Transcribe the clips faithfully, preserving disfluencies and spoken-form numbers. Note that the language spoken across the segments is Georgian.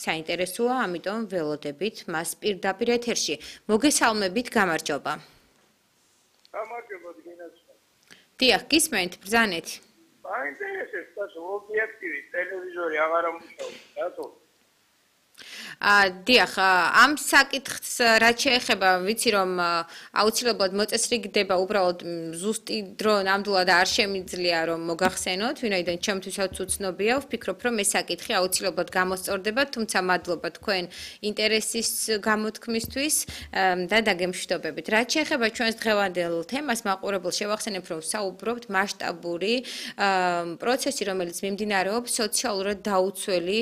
საინტერესოა, ამიტომ ველოდებით მას პირდაპირ ეთერში. მოგესალმებით, გამარჯობა. გამარჯობა დინაცო. დიახ, გისმენთ, ბრძანეთ. მაინტერესებს და ობიექტივი ტელევიზორი აღარ ამუშავებს, რატო? ა დიახ, ამ საკითხს რაც შეეხება, ვიცი რომ აუცილებლად მოწესრიგდება, უბრალოდ ზუსტი დრო ნამდვილად არ შემიძლია რომ მოგახსენოთ, ვინაიდან ჩემთვისაც უცნობია, ვფიქრობ რომ ეს საკითხი აუცილებლად გამოსწორდება, თუმცა მადლობა თქვენ ინტერესის გამოთქმისთვის და დაგემშვიდობებით. რაც შეეხება ჩვენს დღევანდელ თემას, მაყურებელს შევახსენებ, რომ საუბრობთ მასშტაბური პროცესი, რომელიც მიმდინარეობს სოციალურად დაუცველი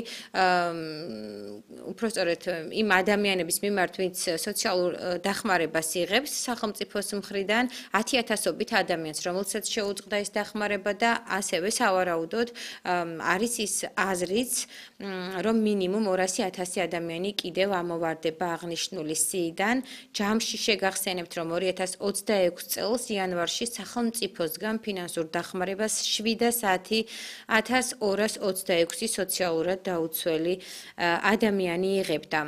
უпростоრეთ იმ ადამიანების მიმართ, ვინც სოციალურ დახმარებას იღებს სახელმწიფოს მხრიდან ათი ათასობით ადამიანს, რომელსაც შეუწყდა ეს დახმარება და ასევე სავარაუდოდ არის ის აზრიც, რომ მინიმუმ ორასი ათასი ადამიანი კიდევ ამოვარდება აღნიშნული სიიდან. ჯამში შეგახსენებთ, რომ ორი ათას ოცდაექვსი წელს იანვარში სახელმწიფოსგან ფინანსურ დახმარებას შვიდასათი ათას ორას ოცდაექვსი სოციალურად დაუცველი ადამიანი იღებდა.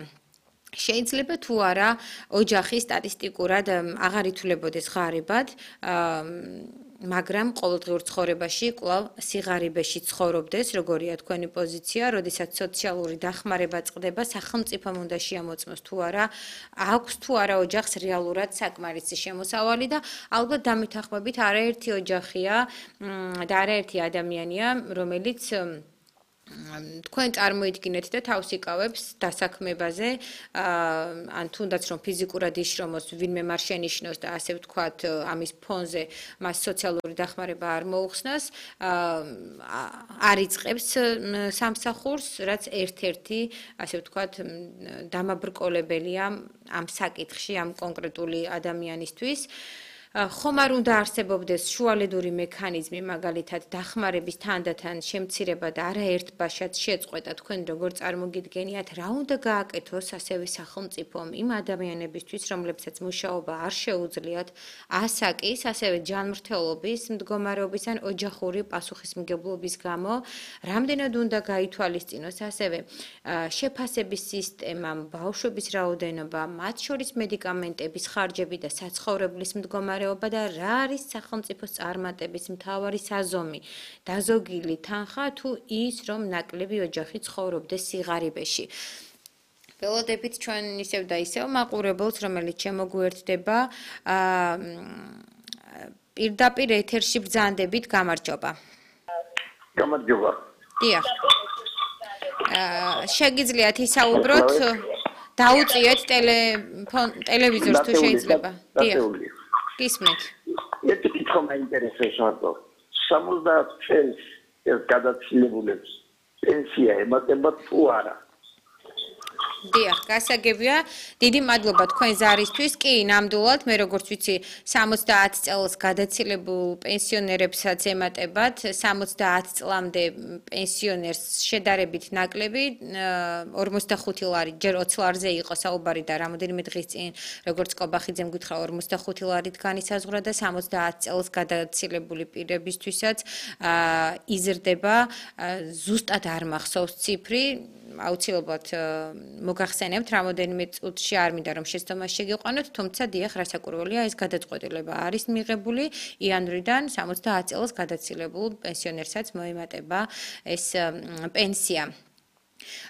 შეიძლება თუ არა ოჯახი სტატისტიკურად აღარ ითვლებოდეს ღარიბად, მაგრამ ყოველდღიურ ცხოვრებაში კვლავ სიღარიბეში ცხოვრობდეს, როგორია თქვენი პოზიცია, როდესაც სოციალური დახმარება წყდება, სახელმწიფომ უნდა შეამოწმოს თუ არა აქვს თუ არა ოჯახს რეალურად საკმარისი შემოსავალი და ალბათ დამეთანხმებით არაერთი ოჯახია და არაერთი ადამიანია, რომელიც თქვენ წარმოიდგინეთ და თავს იკავებს დასაქმებაზე, ან თუნდაც რომ ფიზიკურად იშრომოს, ვინმე მას შენიშნოს და ასე ვთქვათ, ამის ფონზე მას სოციალური დახმარება არ მოუხსნას, არ იწყებს სამსახურს, რაც ერთ-ერთი, ასე ვთქვათ, დამაბრკოლებელია ამ საკითხში, ამ კონკრეტული ადამიანისთვის. ხომ არ უნდა არსებობდეს შუალედური მექანიზმი, მაგალითად დახმარების თანდათან შემცირება და არაერთ ბაშად შეწყვეტა, თქვენ როგორ წარმოგიდგენიათ, რა უნდა გააკეთოს ასევე სახელმწიფომ იმ ადამიანებისთვის, რომლებსაც მუშაობა არ შეუძლიათ ასაკის, ასევე ჯანმრთელობის მდგომარეობის ან ოჯახური პასუხისმგებლობის გამო, რამდენად უნდა გაითვალისწინოს ასევე შეფასების სისტემა, ბავშვების რაოდენობა, მათ შორის მედიკამენტების ხარჯები და საცხოვრებლის მდგომარეობა და რა არის სახელმწიფოს წარმატების მთავარი საზომი, დაზოგილი თანხა თუ ის, რომ ნაკლები ოჯახი ცხოვრობდეს სიღარიბეში. ველოდებით ჩვენ ისევ და ისევ მაყურებელს, რომელიც შემოგვიერთდება, პირდაპირ ეთერში ბრძანდებით, გამარჯობა. გამარჯობა. დიახ. შეგიძლიათ ისაუბროთ, დაუწიეთ ტელევიზორს თუ შეიძლება. დიახ. გისმენთ. ერთი კითხვა მაინტერესებს მარტო. სამოცდაათ წელს ეს გადაცილებულებს პენსია ემატება თუ არა? დიახ, გასაგებია. დიდი მადლობა თქვენ ზარისთვის. კი, ნამდვილად, მე როგორც ვიცი, სამოცდაათ წელს გადაცილებულ პენსიონერებსაც ემატებათ, სამოცდაათ წლამდე პენსიონერს შედარებით ნაკლები, ორმოცდახუთი ლარი, ჯერ ოცი ლარზე იყო საუბარი და რამოდენიმე დღის წინ, როგორც კობახიძემ გითხრა, ორმოცდახუთი ლარით განისაზღვრა და სამოცდაათ წელს გადაცილებული პირებისთვისაც იზრდება, ზუსტად არ მახსოვს ციფრი, აუცილებლად მოგახსენებთ, რამოდენიმე წუთში არ მინდა რომ შეცდომას შეგიყვანოთ, თუმცა დიახ, რასაკვირველია, ეს გადაწყვეტილება არის მიღებული იანვრიდან სამოცდაათ წელს გადაცილებულ პენსიონერსაც მოემატება ეს პენსია.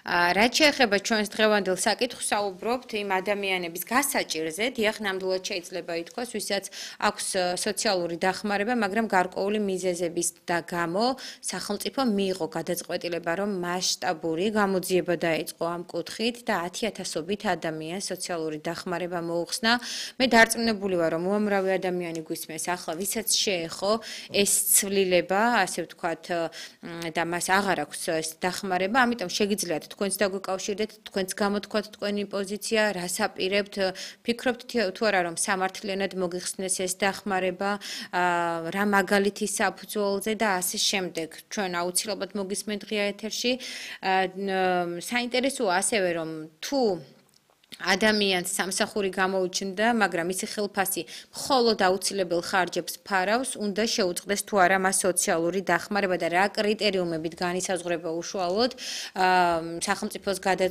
რაც შეეხება ჩვენს დღევანდელ საკითხს, საუბრობთ იმ ადამიანების გასაჭირზე, დიახ, ნამდვილად შეიძლება ითქვას, ვისაც აქვს სოციალური დახმარება, მაგრამ გარკვეული მიზეზების და გამო სახელმწიფო მიიღო გადაწყვეტილება, რომ მასშტაბური გამოძიება დაეწყო ამ კუთხით და ათი ათასობით ადამიანს სოციალური დახმარება მოუხსნა. მე დარწმუნებული ვარ, რომ უამრავი ადამიანი გვისმენს ახლა, ვისაც შეეხო ეს ცვლილება, ასე ვთქვათ, და მას აღარ აქვს ეს დახმარება, ამიტომ შეგიძლიათ თქვენც დაგვიკავშირდეთ, თქვენც გამოთქვათ თქვენი პოზიცია, რას აპირებთ, ფიქრობთ თუ არა რომ სამართლიანად მოგიხსნეს ეს დახმარება, რა მაგალითი საფუძველზე და ასე შემდეგ. ჩვენ აუცილებლად მოგისმენთ ღია ეთერში. საინტერესოა ასევე რომ თუ ადამიანს სამსახური გამოუჩნდა, მაგრამ ისი ხელფასი მხოლოდ აუცილებელ ხარჯებს ფარავს, უნდა შეუწყდეს თუ არა მას სოციალური დახმარება და რა კრიტერიუმებით განისაზღვრება უშუალოდ სახელმწიფოს გადაწყვეტილება